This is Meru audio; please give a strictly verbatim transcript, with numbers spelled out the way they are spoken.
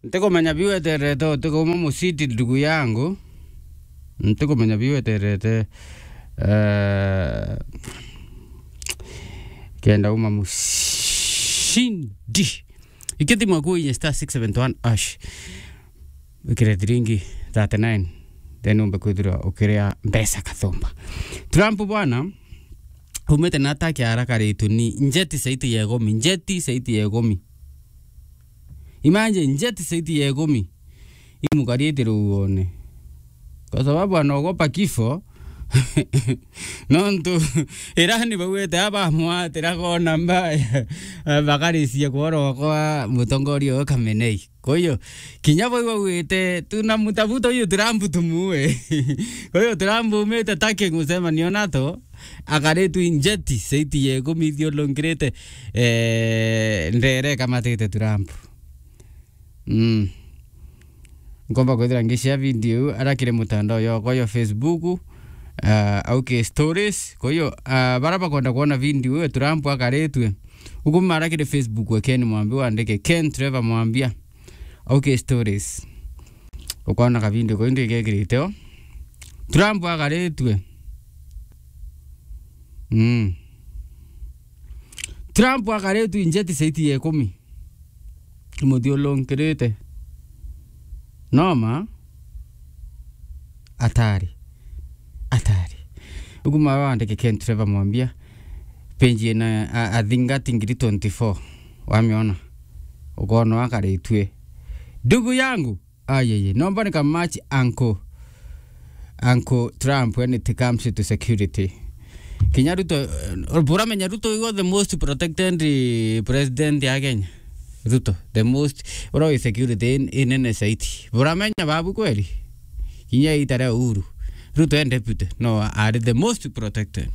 Ntikumenya biu eterete, utikuuma mucindi ndugu yangu. Ntikumenya biu eterete, eh, kenda uma mucindi. Ikithimwa kuinye star six seven one hash. Wikire thiringi thirty-nine, then umbe kwithirwa ukiria mbeca kathumba. Trump bwana, umite na attack ya haraka ritu ni njeti saiti ya ikumi, njeti saiti ya ikumi. Imagine, njeti saiti ya ikumi. Imukariite ruuone. Kwa sababu anaogopa kifo. Nontu Irani bauite abamwatira kona mbaya, bakarisia kworokwa mutongoria uyu Khamenei. Kwa hiyo, kinya bau bauite, "Tunamtafuta huyu Trump tumuue." Kwa hiyo, Trump umite Turkey gucemania na NATO, akaritwe njeti saiti ya ikumi ithiurungirite, eh, ndere ikamatite Trump. Mm. Nkomba kwithira ngishare video iu arakire mutandao yokwa yo Facebook, ah, au ki stories. Kwa hiyo, ah, bara bakwenda kwona video iu Trump akaritwe, ukuma arakire Facebook we Ken Mwambia, wandike Ken Trevor Mwambia, au ki stories. Ukona ka video kau ndi gekirite o. Trump akaritwe. Mm. Trump akaritwe njeti saiti ya ikumi. Imuthiurungirite. Noma? Atari. Atari. Ukuma wandike Ken Trevor Mwambia. Page ina, a, I think ati ngiri twenty-four. Wamiona? Ukona akaritwe. Ndugu yangu. Ayeye. Nomba ni kamatch uncle. Uncle Trump when it comes to security. Kinya Ruto, eh, buramenya Ruto igo the most protected, eh, president ya Kenya. Ruto, the most, ura wi security in, inene saiti. Buramenya babu kweli? Kinya ita ria Uhuru. Ruto e deputy. No, are the most protected.